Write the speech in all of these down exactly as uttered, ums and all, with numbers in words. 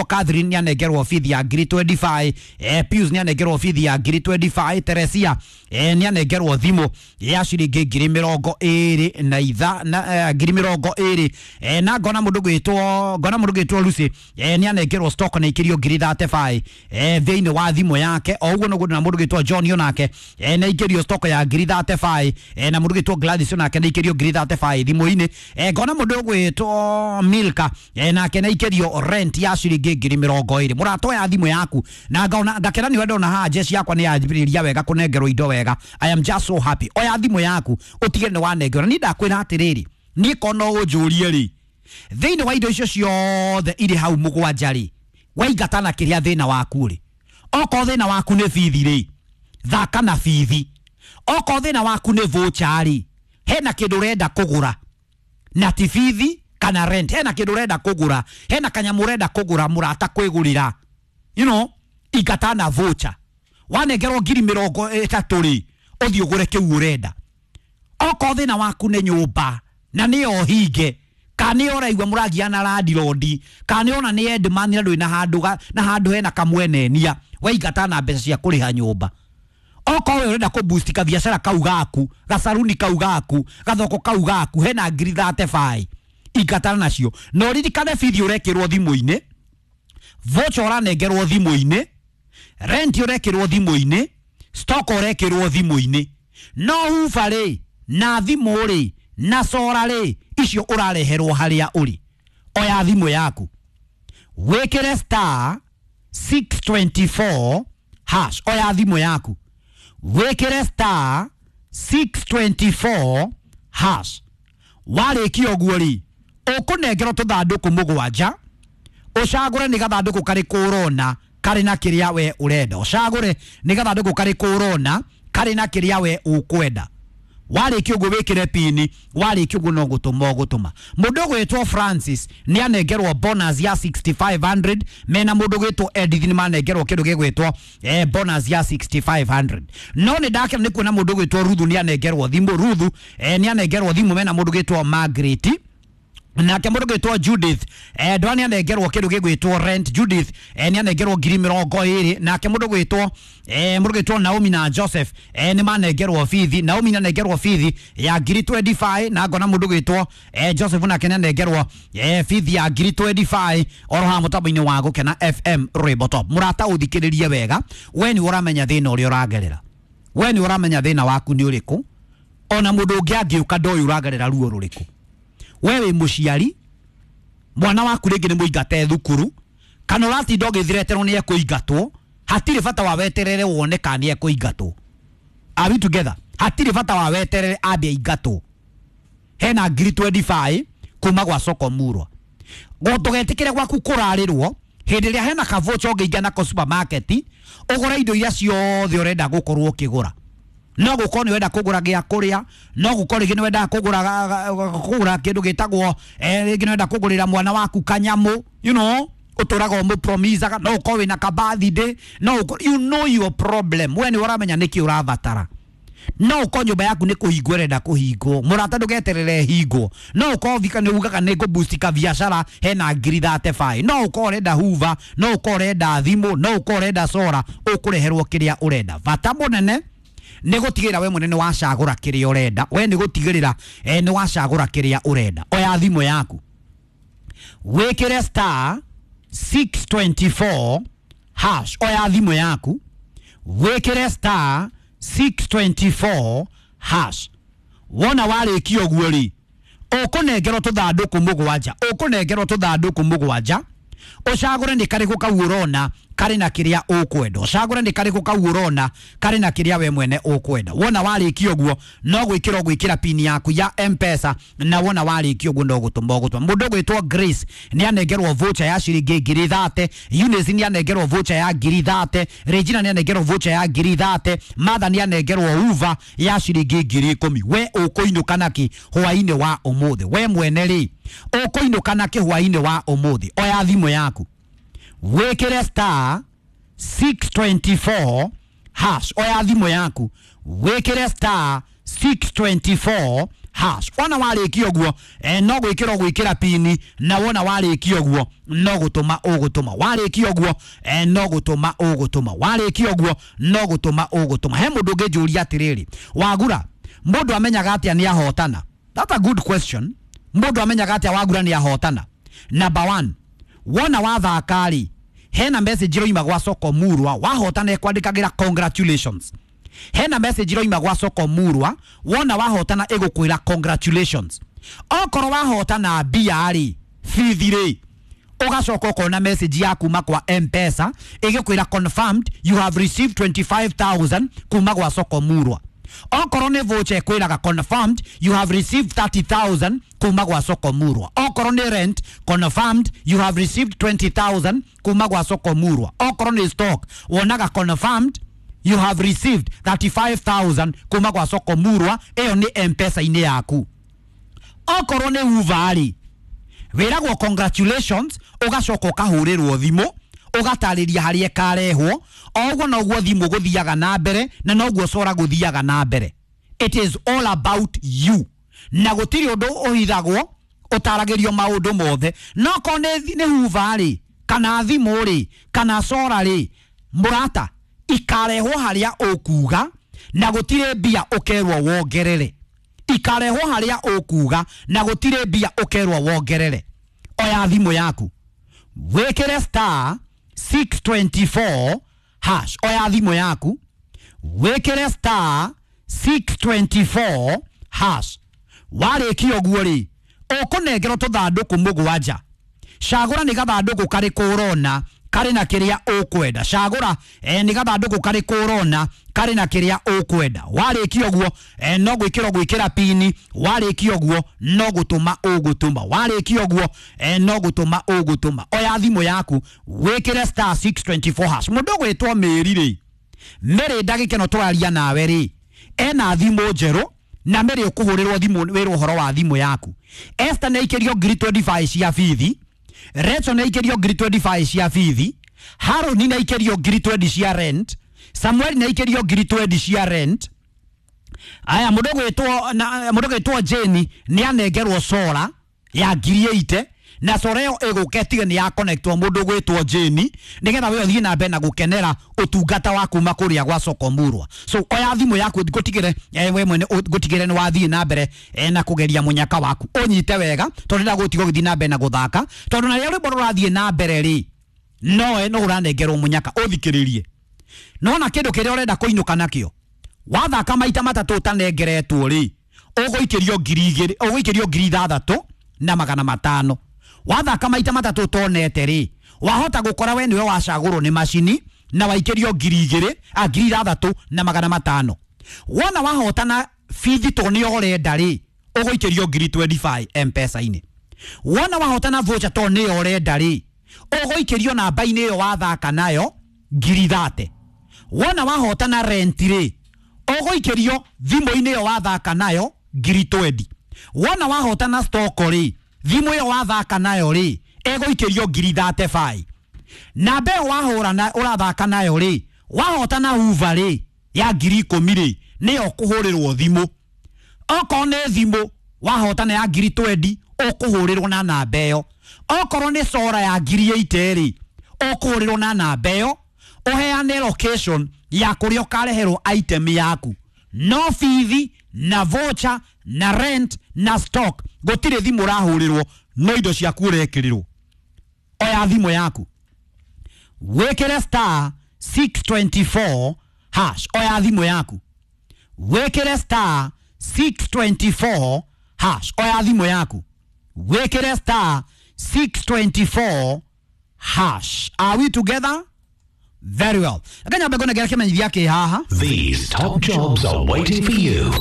Catherine nĩ anengerwo bithi ya ngiri mĩrongo ĩrĩ na ithano, eh, Pius nĩ anengerwo bithi ya ngiri mĩrongo ĩrĩ na ithano, Teresia eh, nĩ anengerwo thimũ ya ciringi ngiri mĩrongo ĩrĩ na itha na eh, ngiri mĩrongo ĩrĩ, eh, na ngona mũndũ gwĩtwo ngona mũndũ gwĩtwo Lucy eh, nĩ anengerwo stock na ikĩrio ngiri mĩrongo ĩtatũ eh, thĩinĩ wa thimũ yake. O ũguo noguo na mũndũ gwĩtwo John onake eh, nĩ aikĩrio stock ya ngiri mĩrongo ĩtatũ, eh, na mũndũ gwĩtwo Gladys onake nĩ aikĩrio ngiri mĩrongo ĩtatũ thimũ-inĩ. eh, ngona mũndũ gwĩtwo Milka eh, nake nĩ aikĩrio rent ya ciringi ngiri mĩrongo ĩrĩ. Mũrata, oya thimũ yaku na ngaona ngakena nĩ ndona haha jeshi yakwa nĩ yanjĩrĩria wega kũnengerwo indo wega. I am just so happy. Oya thimũ yaku ũtige nĩ wanengerwo. Na niĩ ndakwĩra atĩrĩrĩ, niĩ kono ũnjũrie rĩ, thĩinĩ wa indo icio ciothe irĩ hau mũgwanja rĩ, waingatana kĩrĩa thĩna waku rĩ. Okorwo thĩna waku nĩ bithi rĩ, thaka na bithi. Okorwo thĩna waku nĩ voucher rĩ, hena kĩndũ ũrenda kũgũra na ti bithi kana rent, hena kĩndũ ũrenda kũgũra, hena kanyamũ ũrenda kũgũra, mũrata kwĩgũrĩra, you know ingatana voucher. Wanengerwo ngiri mĩrongo ĩtatũ rĩ, ũthiĩ ũgũre kĩu ũrenda. Okorwo thĩna waku nĩ nyũmba na nĩyo hinge, kana nĩ ũraigua mũragiana landlord, kana nĩ ona nĩ endman na ndũrĩ na handũ ga- na handũ hena kamwenenia, waingata na mbeca cia kũrĩha nyũmba. Okorwo we ũrenda kũ boost kabiacara kau gaku, gacaruni kau gaku, gathoko kau gaku, hena ngiri mĩrongo ĩtatũ, ingatana nacio. Na ũririkane bithi ũrekĩrwo thimũ-inĩ, voucher ũranengerwo thimũ-inĩ, rent ũrekĩrwo thimũ-inĩ, stock ũrekĩrwo thimũ-inĩ, no huba rĩ na thimũ rĩ na sora rĩ, icio ũrareherwo harĩa ũrĩ. Oya thimũ yaku wĩkĩre star six two four hash. Oya thimũ yaku wĩkĩre star six two four hash. Warĩkia ũguo rĩ, ũkũnengerwo tũthandũkũ mũgwanja, ũcagũre nĩ gathandũkũ karĩkũ ũrona karĩ na kĩrĩa we ũrenda. Ũcagũre nĩ gathandũkũ karĩkũ ũrona karĩ na kĩrĩa we ũkwenda. Warĩkia ũguo wĩkĩre pini. Warĩkia ũguo no gũtũma ũgũtũma. Mũndũ ũgwĩtwo Francis nĩ anengerwo bonus ya six thousand five hundred, mena mũndũ ũgwĩtwo Edith nĩ manengerwo kĩndũ gĩgwĩtwo eh, bonus ya six thousand five hundred. No nĩ ndakena nĩ kuona mũndũ ũgwĩtwo Ruthu nĩ anengerwo thimũ. Ruthu eh, nĩ anengerwo thimũ mena mũndũ ũgwĩtwo Margaret. Nake mũndũ gwĩtwo Judith eh, ndwa nĩ anengerwo kĩndũ gĩgwĩtwo rent. Judith eh, nĩ anengerwo ngiri mĩrongo ĩrĩ. Nake mũndũ gwĩtwo eh, mũndũ gwĩtwo Naomi na Joseph eh, nĩ manengerwo bithi. Naomi nĩ anengerwo bithi ya ngiri mĩrongo ĩrĩ na ithano, na ngona mũndũ gwĩtwo eh, Joseph nake nĩ anengerwo eh, bithi ya ngiri mĩrongo ĩrĩ na ithano oro haha mũtambo-inĩ wa Gũkena F M, Rwĩmbo Top. Mũrata, ũthikĩrĩrie wega, we nĩ ũramenya thĩna ũrĩa ũragerera, we nĩ ũramenya thĩna waku nĩ ũrĩkũ. Ona mũndũ ũngĩ angĩũka ndoĩ ũragerera ruo rũrĩkũ. We wĩ mũciari, mwana waku rĩngĩ nĩ mũingate thukuru, kana ũratinda ũgĩthireterwo nĩ ekũingatwo. Hatirĩ bata wa weterere wone kana nĩ ekũingatwo. Are we together? Hatirĩ bata wa weterere ambe aingatwo. Hena ngiri mĩrongo ĩrĩ na ithano kuma gwa soko murwa. Ndũgetĩkĩre gwaku kũrarĩrwo hĩndĩ ĩrĩa hena kavocha ũngĩingĩa nako supermarket ũgũre indo iria ciothe ũrenda gũkorwo ũkĩgũra. No gũkorwo nĩ wenda kũgũra gĩa kũrĩa, no gũkorwo rĩngĩ nĩ wendaga kũgũra kũgũra kĩndũ gĩtagwo eh, rĩngĩ nĩ wenda kũgũrĩra mwana waku kanyamũ, you know ũtũraga ũmũpromisaga, no ũkorwo wĩna ka birthday, no ũkorwo you know your problem. We nĩ ũramenya nĩkĩ ũrabatara. No ũkorwo nyũmba yaku nĩ kũhingwo ĩrenda kũhingwo, mũrata, ndũgeterere hingwo. No ũkorwo thika nĩ ugaga nĩ ngũboost kabiacara, hena ngiri mĩrongo ĩtatũ. No ũkorwo ũrenda huva, no ũkorwo ũrenda thimũ, no ũkorwo ũrenda sora, ũkũreherwo kĩrĩa ũrenda. Bata mũnene nĩ gũtigĩrĩra we mwene nĩ wacagũra kĩrĩa ũrenda. We nĩ gũtigĩrĩra eh, nĩ wacagũra kĩrĩa ũrenda. Oya thimũ yaku wĩkĩre star six two four hash. Oya thimũ yaku wĩkĩre star six two four hash. Wona warĩkia ũguo rĩ, ũkũnengerwo tũthandũkũ mũgwanja. Ũkũnengerwo tũthandũkũ mũgwanja, ũcagũre nĩ karĩkũ kau ũrona karĩ na kĩrĩa ũkwenda. Ũcagũre nĩ karĩkũ kau ũrona karĩ na kĩrĩa we mwene ũkwenda. Wona warĩkia ũguo no gwĩkĩra ũgwĩkĩra pini yaku ya M-Pesa, na wona warĩkia ũguo no gũtũma ũgũtũma. Mũndũ ũgwĩtwo Grace nĩ anengerwo voucher ya ciringi ngiri thate. Eunice nĩ anengerwo voucher ya ngiri thate. Regina nĩ anengerwo voucher ya ngiri thate. Martha nĩ anengerwo uva ya ciringi ngiri ikũmi. We ũkũinũka naki hwainĩ wa ũmũthĩ? We mwene rĩ, ũkũinũka naki hwainĩ wa ũmũthĩ? Oya thimũ yaku wĩkĩre star six two four hash. Oya thimũ yaku wĩkĩre star six two four. hash. Wona warĩkia ũguo eh, no gwĩkĩra gwĩkĩra pini, na wona warĩkia ũguo no gũtũma ũgũtũma. Warĩkia ũguo eh, no gũtũma ũgũtũma. Warĩkia ũguo no gũtũma ũgũtũma. He mũndũ ũngĩnjũria atĩrĩrĩ, Wagura, mũndũ amenyaga atĩa nĩ ahotana? That's a good question. Mũndũ amenyaga atĩa Wagura nĩ ahotana? Number one, wona wathaka rĩ, hena message iroima gwa Soko Murwa, wahotana ĩkwandĩkagĩra congratulations. Hena message iroima gwa Soko Murwa, wona wahotana ĩgũkwĩra congratulations. Okorwo wahotana mbia rĩ, bithi rĩ, ũgacoka ũkona message ya kuma kwa M-Pesa ĩgĩkwĩra confirmed you have received twenty-five thousand kuma gwa Soko Murwa. Okorwo nĩ voucher ĩkwĩraga confirmed you have received thirty thousand kuma gwa Soko Murwa. Okorwo nĩ rent confirmed you have received twenty thousand kuma gwa Soko Murwa. Okorwo nĩ stock wonaga confirmed you have received thirty-five thousand kuma gwa Soko Murwa. Ĩyo nĩ M-Pesa-inĩ yaku. Okorwo nĩ Uber rĩ, wĩragwo congratulations, ũgacoka ũkahũrĩrwo thimũ ũgatarĩria harĩa ĩkarehwo. O ũguo noguo thimũ gũthiaga na mbere na noguo cora gũthiaga na mbere. It is all about you, na gũtirĩ ũndũ ũhithagwo, ũtaragĩrio maũndũ mothe. No korwo nĩ Hoover rĩ, kana thimũ rĩ, kana cora rĩ, mũrata, ikarehwo harĩa ũkuga na gũtirĩ mbia ũkerwo wongerere. Ikarehwo harĩa ũkuga na gũtirĩ mbia ũkerwo wongerere. Oya thimũ yaku wĩkĩre star six twenty-four hash. Oya thimũ yaku wĩkĩre star six twenty-four hash. Warĩkia ũguo rĩ, ũkũnengerwo tũthandũkũ mũgwanja. Cagũra nĩ gathandũkũ karĩkũ ũrona karĩ na kĩrĩa ũkwenda. Cagũra eh, nĩ gathandũkũ karĩkũ ũrona karĩ na kĩrĩa ũkwenda. Warĩkia ũguo eh, no gwĩkĩra gwĩkĩra pini. Warĩkia ũguo no gũtũma ũgũtũma. Warĩkia ũguo eh, no gũtũma ũgũtũma. Oya thimũ yaku wĩkĩre star six twenty-four hash. Mũndũ ũgwĩtwo Mary rĩ, Mary ndagĩka ĩno tũraria nawe rĩ, ena thimũ njerũ na Mary ũkũhũrĩrwo thimũ wĩrwo ũhoro wa thimũ yaku. Esther nĩ aikĩrio ngiri twenty-five cia bithi. Rachel nĩ aikĩrio ngiri twenty-five cia bithi. Haroni nĩ aikĩrio ngiri twenty cia rent. Samuel nĩ aikĩrio ngiri twenty cia rent. Aya, mũndũ ũgwĩtwo na mũndũ ũgwĩtwo Jane nĩ anengerwo sora ya ngiri eighty, na sora ĩyo ĩgũka ĩtige nĩ ya connectwo mũndũ ũgwĩtwo Jane nĩgetha we ũthiĩ na mbere na gũkenera ũtungata wa kuma kũrĩa gwa Soko Murwa. So oya thimũ yaku ngũtigĩre eh, we mwene ngũtigĩre nĩ wathiĩ na mbere eh, na kũgeria mũnyaka waku. Ũnyite wega tondũ ndagũtiga ũgĩthiĩ na mbere na gũthaka, tondũ na rĩrĩa rwĩmbo rũrathiĩ na mbere rĩ, nowe no ũranengerwo mũnyaka. Ũthikĩrĩrie, nona kĩndũ kĩrĩa ũrenda kũinũka nakĩo wathaka maita matatũ ũtanengeretwo rĩ, ũgũikĩrio ngiri igĩrĩ, ũgũikĩrio ngiri ithathatũ na magana matano. Wathaka maita matatũ ũtonete rĩ, wahota gũkora we nĩwe wacagũrwo nĩ macini na waikĩrio ngiri igĩrĩ, a ngiri ithathatũ na magana matano. Wona wahotana bithi to nĩ ũrenda rĩ, ũgũikĩrio ngiri twenty-five M-Pesa-inĩ. Wona wahotana voucher to nĩ ũrenda rĩ, ũgũikĩrio namba-inĩ ĩyo wathaka nayo ngiri thate. Wona wahotana rent rĩ, ũgũikĩrio thimũ-inĩ ĩyo wathaka nayo ngiri twenty. Wona wahotana stock rĩ, thimũ ĩyo wathaka nayo rĩ, ĩgũikĩrio ngiri thirty-five. Namba ĩyo wahũra na ũrathaka nayo rĩ, wahotana Hoover rĩ ya ngiri ikũmi rĩ, nĩyo ũkũhũrĩrwo thimũ. Okorwo nĩ thimũ wahotana ya ngiri twenty, ũkũhũrĩrwo na namba ĩyo. Okorwo nĩ sora ya ngiri eighty rĩ, ũkũhũrĩrwo na namba ĩyo, ũheane location ya kũrĩa ũkareherwo item yaku. No bithi na voucher na rent na stock, gũtirĩ thimũ ũrahũrĩrwo, no indo ciaku ũrekĩrĩrwo. Oya thimũ yaku wĩkĩre star six twenty-four hash. Oya thimũ yaku wĩkĩre star six twenty-four hash. Oya thimũ yaku wĩkĩre star six twenty-four hash. Are we together? Very well. Akanyamba kona kĩmenyithia kĩ haha. These top jobs are waiting for you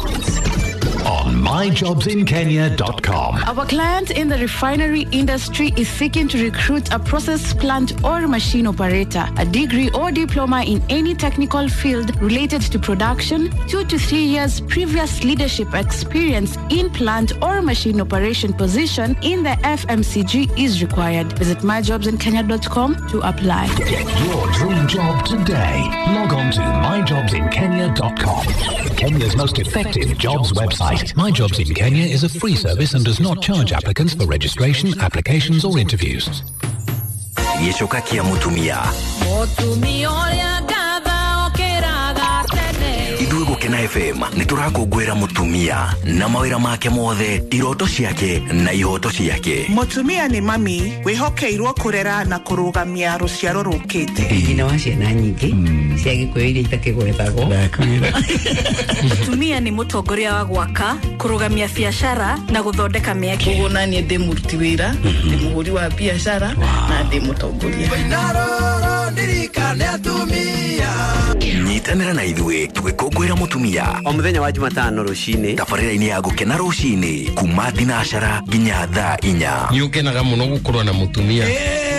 on my jobs in kenya dot com. Our client in the refinery industry is seeking to recruit a process plant or machine operator, a degree or diploma in any technical field related to production, two to three years previous leadership experience in plant or machine operation position in the F M C G is required. Visit my jobs in kenya dot com to apply. Get your dream job today. Log on to my jobs in kenya dot com. Kenya's most effective jobs website. My Jobs in Kenya is a free service and does not charge applicants for registration, applications or interviews. Gĩcoka kĩa mũtumia. Mũtumia ũrĩa ngatha okĩraga tene. Ithuĩ Gũkena F M nĩ tũrakũngũĩra mũtumia na mawĩra make mothe, iroto ciake na ihoto ciake. Mũtumia nĩ mami wĩhokeirwo kũrera na kũrũgamia rũciaro rũkĩte. Nyina wa ciana nyingĩ cia Gĩkũyũ iria itakĩgwetagwo. Mũtumia nĩ mũtongoria wa gwaka, kũrũgamia biacara na gũthondeka mĩeke. Koguo naniĩ ndĩ mũruti wĩra, ndĩ mũhũri wa biacara na ndĩ mũtongoria. Nyitanĩra na ithuĩ tũgĩkũngũĩra mũtumia o mũthenya wa Jumatano rũcinĩ tabarĩra-inĩ ya Gũkena rũcinĩ kuma thinacara nginya thaa inya. Nĩ ũkenaga mũno gũkorwo na mũtumia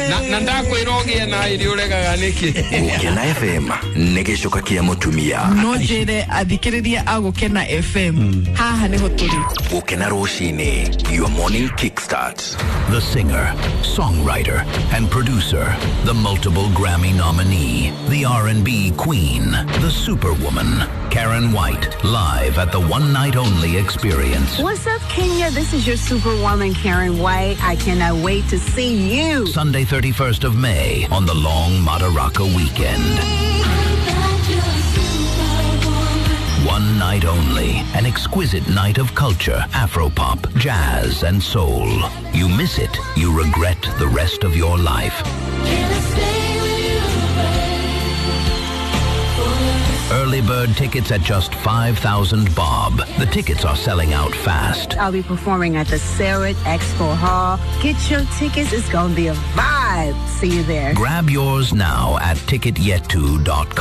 na, na ndakwĩra ũgĩe na irio ũregaga nĩkĩ. Gũkena F M nĩ gĩcoka kĩa mũtumia. No njĩre athikĩrĩria a Gũkena F M, haha nĩho tũrĩ. Gũkena rũcinĩ, your morning kickstart. The singer, songwriter, and producer, the multiple Grammy nominee, the R and B queen, the superwoman, Karen White, live at the One Night Only Experience. What's up, Kenya? This is your superwoman, Karen White. I cannot wait to see you. Sunday, thirty-first of May on the long Madaraka weekend. One night only, an exquisite night of culture, Afropop, jazz, and soul. You miss it, you regret the rest of your life. Early bird tickets at just five thousand bob. The tickets are selling out fast. I'll be performing at the Sarit Expo Hall. Get your tickets. It's going to be a vibe. See you there. Grab yours now at ticketyetu dot com.